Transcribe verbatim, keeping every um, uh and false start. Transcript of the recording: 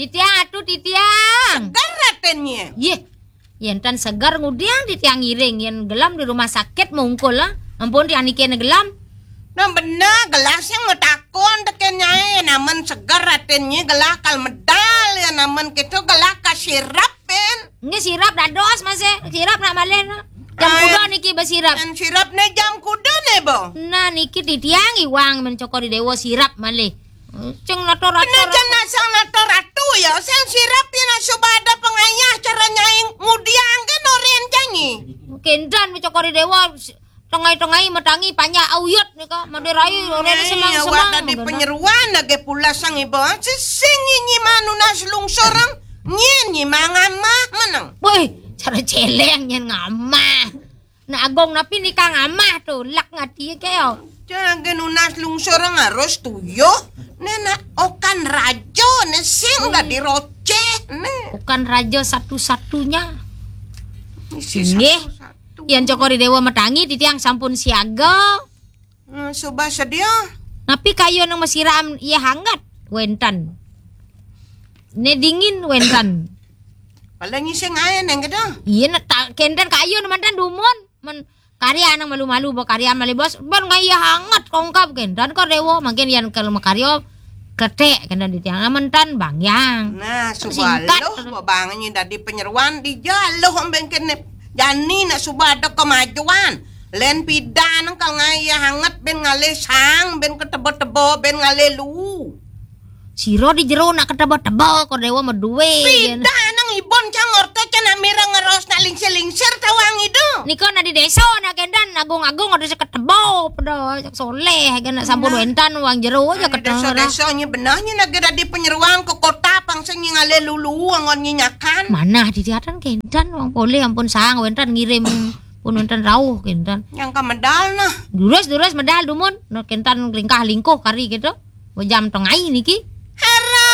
Titiang, atu titiang. Seger atennye. Yeh. Yen tan seger ngudiang titiang ngiring, yen gelem di rumah sakit mungkul, ah. Ampun, tiang niki ne gelem. Nah, bener, gelah sing matakon teken nyai, namen seger atennye gelah kal medal, ya namen keto gelah kasirap, ben. Nggih, sirap dados, Mas, eh. Sirap nak malih, nah. Jam Ah, kuda niki besirap. Yang sirap ne jam kuda ne, bo? Nah, niki titiang iwang men Cokor I Dewa sirap malih. Ceng nato-rato. Kena jan nasang nato-rato ya, sing sirap yen suba ada pengayah cara nyai ngudiang ke norin janyi. Kendan men Cokor I Dewa, tengai-tengai matangi panjak auyut nika, madirai ora Ai, semang-semang, awak tadi penyeruan lagi pula sang iba. Sesing nyi manunas lungsur, nyen nyi mangamah meneng. Woi, cara celeng nyen ngamah. Nak agung napi nika ngamah tu, lak ngati ke yo. Jangan nunas lungsur harus tuyuh. Ne nak okan raja ne sing dadi roceh ne. Okan raja satu-satunya. Isi Nggih. Satu-satu. Yan Cokor I Dewa matangi titiang sampun siaga. Nah, suba sedia. Napi kayun nang masiram iya hangat? Wenten. Ne dingin wenten. Paling ising ae neng kedo. Iya, nak ta-, kenten kayun mantan dumun. Men karya nang malu-malu, bo karya malih bos. Ban ngai iya hangat kongkap kenten kor Dewa. Mangkin yan kalau makarya kletek kenten di tiang. Amen tan bangyang. Nah, suba singkat. Loh, bo bangnyi dadi penyeruan di jaloh amben kene. Jani nak suba ada kemajuan. Len pidan kal ngai iya hangat ben ngalih sang, ben ketebo-tebo, ben ngalih lu. Sira di jero nak ketebo-tebo, kor Dewa maduwe. Pidan nang ibon cang orta cang nak mireng ngeros nak lingsir-lingsir tawang idu. Nika nak di desa nak kendan agung-agung ada seketebo, pada soleh, kan nak sampun Nah. Wentan wang jero aja Nah, ketemu. Desa-desa nyi benar nyi nak dadi penyeruan ke kota pangsa nyi ngalih lulu angon nyi nyakan. Manah di tiatan kendan wang poleh ampun sang wentan ngirim pun wentan rauh kendan. Yang ka medal nah. Durus, durus medal dumun. Nah, kendan lingkah lingkuh kari gitu. Jam tengai niki.